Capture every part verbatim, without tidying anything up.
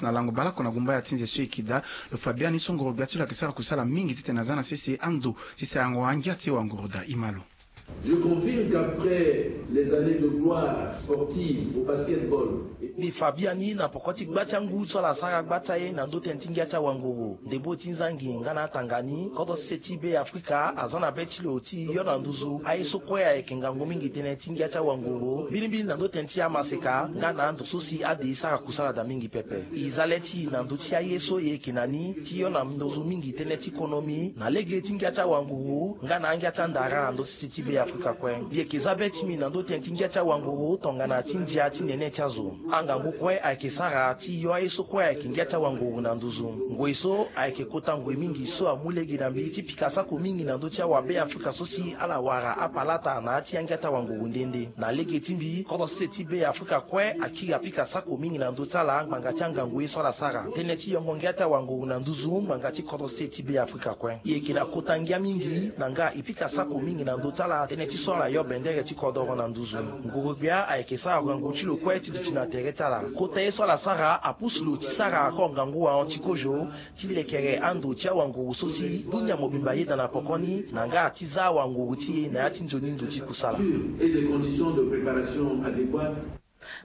Na lango baleoko na gumba ya ti nze so e yeke daa, lo fa biani so ngoro-gbia ti lo ayeke sara kusala mingi titene aza na sese ando ti sarango angia ti e wanguru daa. Imalo. Je confirme qu'après les années de gloire sportive au basketball, mbi fa biani na poko ti gba ti angu so ala sara gba ti aye na ndö tënë ti ngia ti awanguru, ndembo ti nzangi nga na atanga ni, kodro ti se ti Be Afrika aza na be ti lo ti yo na nduzu aye so kue ayeke ngangu mingi tënë ti ngia ti awanguru, mbilimbili na ndö tënë ti amaseka nga na ando so si ade e sara kusala daa mingi pepe. E za le ti e na ndö ti aye so e yeke na ni ti yo na nduzu mingi tënë ti konomi na lege ti ngia ti awanguru nga na angia ti andara na ndö ti se ti Be Afrika kue. Mbi yeke za be ti mbi na ndö tënë ti ngia ti awanguru tongana ti ndia ti nene ti azo. Angangu kue ayeke sara ti yo aye so kue ayeke ngia ti awanguru na nduzu. Ngoi so ayeke kota ngoi mingi so amu lege na mbi ti pika sako mingi na ndö ti awabe Afrika so si ala wara apalata na ya ti angia ti awanguru nde nde. Na lege ti mbi, kodro sese ti Be Afrika kue akiri apika sako mingi na ndö ti ala ngbanga ti angangu ye so ala sara. Tënë ti yongo ngia ti awanguru na nduzu ngbanga ti kodro sese ti Be Afrika kue. E yeke na kota ngia mingi na nga e pika sako mingi na ndö ti ala tënë ti so ala yo bendere ti kodoro na nduzu. Nguru-gbia ayeke sara ngangu ti lo kue ti duti na tere ti ala. Kota ye so ala sara apusu lo ti sara ako ngangu ahon ti kozo ti lekere ando ti awanguru so si dunia mobimba ayeda na poko ni na nga ti za awanguru ti e na ya ti nzoni ndo ti kusala. Et des conditions de préparation adéquates.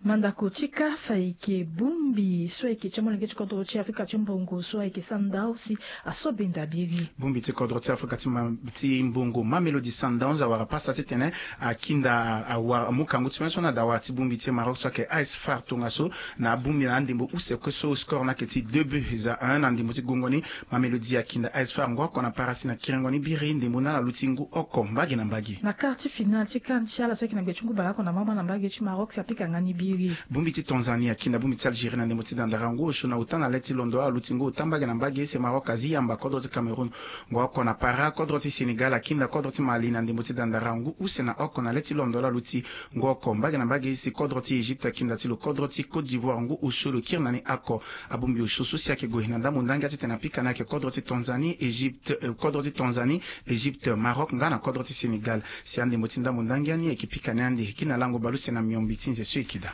Mandako ti CAF ayeke bongbi so ayeke ti molenge ti kodro ti Afrika ti mbongo so ayeke Sundowns si aso benda biri. Bongbi ti kodro ti Afrika ti ma-, ti mbongo Mamelodi Sundowns awara pasa titene akinda awa amu kangu ti me so na dawa ti bongbi ti Maroc so ayeke AS FAR tongaso na abongbi na andembo use kue so score ni ayeke ti deux buts à un na ndembo ti gongo ni. Mamelodi akinda AS FAR ngooko na parasi na kiringo ni biri ndembo ni ala luti ngu oko mbage na mbage. Na quart ti finale ti CAN ti ala so ayeke na gbe ti ngu baleoko na mama na mbage ti Maroc si apika nga ni biri. Bongbi ti Tanzanie akinda bongbi ti Algérie na ndembo ti dandara ngu osio na ota na le ti londo ala luti ngu ota mbage na mbage si Maroc azi yamba kodro ti Cameroun ngooko na para. Kodro ti Sénégal akinda kodro ti Mali na ndembo ti dandara ngu use na oko na le ti londo ala luti ngu oko mbage na mbage si kodro ti Égypte akinda ti lo kodro ti Côte d'Ivoire ngu osio lo kiri na ni oko. Abongbi osio so si ayeke gue na ndambo ndangia titene apika ni ayeke kodro ti Tanzanie, Égypte, eh, kodro ti Tanzanie, Égypte, Maroc nga na kodro ti Sénégal. Si andembo ti ndambo ndangia ni ayeke pika ni ande gi na lango baleuse na miombi ti nze so e yeke daa.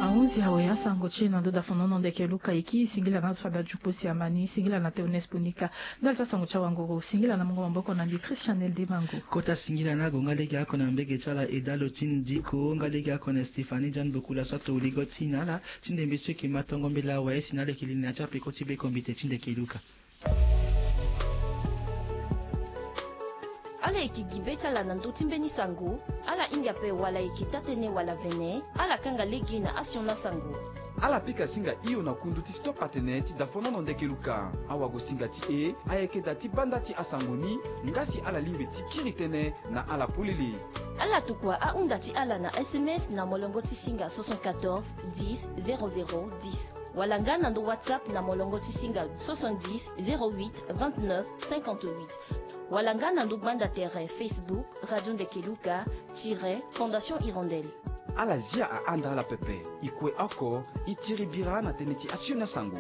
Ahunzi awe asango ti e na ndo dafonono ndeke Luka e kiri. Singila na azo fade ajupo si amani. Singila na Théoneste Ponika. Ndali ti asango ti awanguru, singila na mungo maboko na mbi Christian Eldemango. Kota singila na agonga lege oko na mbege ti ala Edalo ti Ndiko, nga lege oko na Stéphanie Jeanne Bokula so ato ligo ti na ala ti ndembe so e yeke ma tongo mbela awe si na ala yeke li na ya ti apeko ti bekombite ti ndeke Luka. Ala yeke gi be ti ala na ndö ti mbeni sango, ala hinga ape wala e yeke taa-tënë wala vene, ala kanga lege na asioni asango. Ala pika singa hio na kundu ti Stop Atene ti dafonono ndeke Luka. Awagosinga ti e ayeke da ti banda ti asango ni, nga si ala lingbi ti kiri tënë na ala polele. Ala tokua ahunda ti ala na S M S na molongo ti singa soixante-quatorze dix zéro zéro dix, wala nga na ndo WhatsApp na molongo ti singa soixante-dix zéro huit vingt-neuf cinquante-huit, wala nga na ndo gbanda tere Facebook Radio Ndeke Luka tiret Fondation Hirondelle. Ala zia ahanda ala pepe. E kue oko, e tiri bira na tënë ti asioni asango.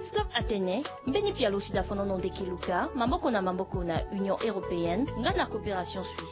Stop Atene, mbeni pialo ti dafonono ndeke Luka, maboko na maboko na Union Européenne nga na Coopération Suisse.